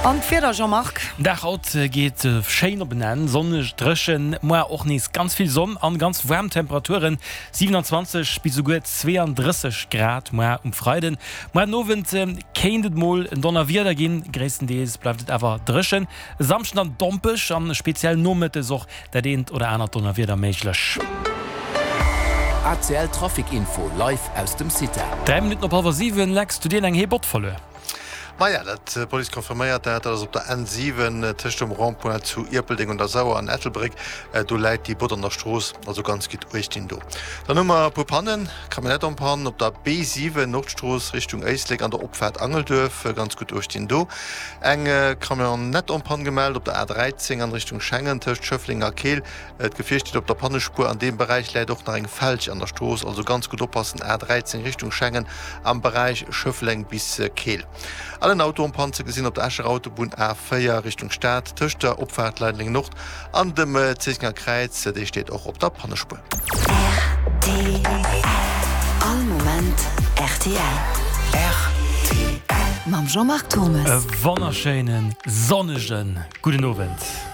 An d'Wieder, Jean-Marc? Den Dag haut geet schéin op en Enn, sonneg, dréchen, moar och nees ganz vill Sonn an ganz waarm Temperaturen, 27 bis esouguer 32 Grad moar um Freiden. Moar den Owend kéint et mol en Donnerwieder ginn, gréisstendeels bleift et awer dréchen. E Samschden dann dompeg an speziell nomëttes och dat eent oder anert Donnerwieder méiglech. ACL Trafic Info live aus dem CITA. 3 Minutten op hallwer 7, Lex, du dir eng Heebott verluer? Maja, dat d'Police confirméiert dat. Dat ass op der N7 tëscht dem Rond-point zu Ierpeldeng un der Sauer an Ettelbréck. Do läit déi Bott an der Strooss, also ganz gutt uecht dinn do. Dann hu mer e puer Pannen, Camionnette en panne op der B7, Nordstrooss Richtung Éislek an der Opfaart Angelduerf, ganz gutt uecht dinn do. Eng Camionnette en panne gemellt op der A13 an Richtung Schengen tëscht Schëffleng a Keel. D'Gefier steet op der Pannespuer. An deem Beräich läit och nach eng Felg an der Strooss, also ganz gutt oppassen, A13 Richtung Schengen am Beräich Schëffleng bis Keel. An en Auto en panne ze gesinn op der Escher Autobunn A4 Richtung Stad tëscht der Opfaart Leideleng Nord an dem Zéissenger Kräiz, dee steet och op der Pannespuer. Rtl. All Moment rtl. Rtl. Mam Jean-Marc Thommes. E wonnerschéinen sonnege gudden Owend.